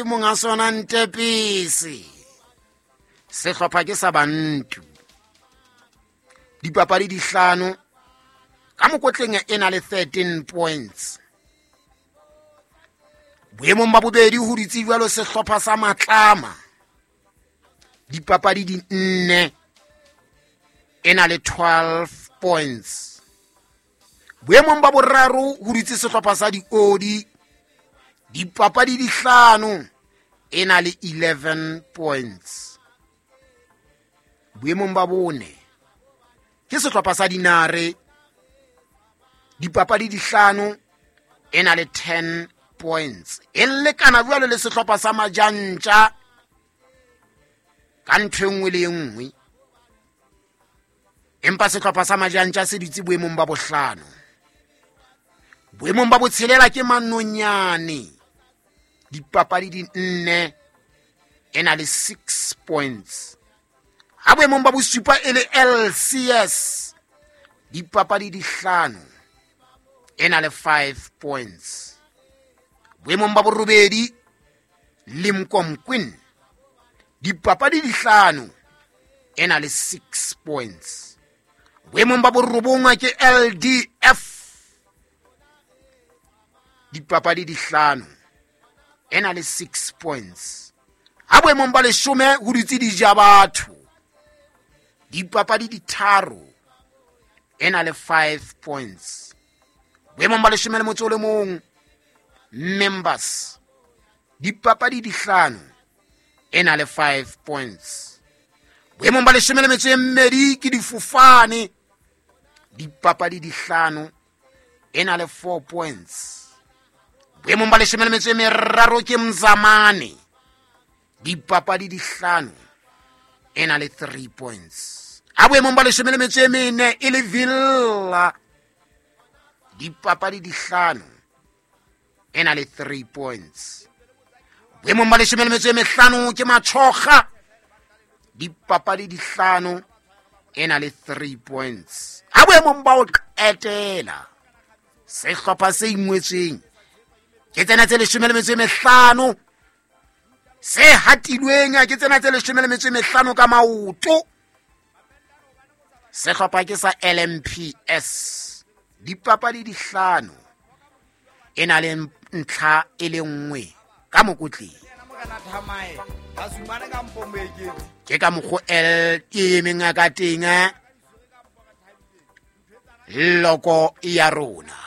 Monga sona Ntepisi, sehlopha ke sa Bantu. Dipapadi di hlano ka mokotleng, e na le 13 points. Boemong ba bobedi ho dutse jwalo sehlopha sa Matlama, dipapadi di nne, e na le 12 points. Boemong ba boraro ho dutse sehlopha sa Diodi, dipapadi di hlano, e na le 11 points. Boemong ba bone ke sehlopha sa Dinare, dipapadi di hlano, e na le 10 points, e lekana jwalo le sehlopha sa Majantja ka ntho e nngwe le e nngwe, empa sehlopha sa Majantja se dutse boemong ba bohlano. Boemong ba botshelela ke Manonyane, dipapadi di nne, e na le 6 points. Ha boemong ba bosupa e le LCS, dipapadi di hlano, e na le 5 points. Boemong ba borobedi Limkomquin, dipapadi di hlano, e na le 6 points. Boemong ba borobong ke LDF, dipapadi di hlano, e na le 6 points. Ha boemong ba leshome ho dutse Dija Batho, dipapadi di tharo, e na le 5 points. Boemong ba leshome le motso o le mong Members, dipapadi di hlano, e na le 5 points. Boemong ba leshome le metso e mmedi ke Difofane, dipapadi di hlano, e na le 4 points. Boemong ba leshome le metso e meraro ke Mzamane, dipapadi di hlano, e na le 3 points. A boemong ba leshome le metso e mene e le Villa, dipapadi di hlano, e na le 3 points. Boemong ba leshome le metso e mehlano ke Matshoga, dipapadi di hlano, e na le 3 points. Ha boemong ba ho qetela sehlopha se ingwetsweng ke tsena tse leshome le metso e mehlano, se hatilweng ke tsena tse leshome le metso e mehlano ka maoto, sehlopha ke sa LMPS, dipapadi di hlano, e na le ntlha e le nngwe ka mokotleng. Ke ka mokgo L e emeng ka teng loko ya rona.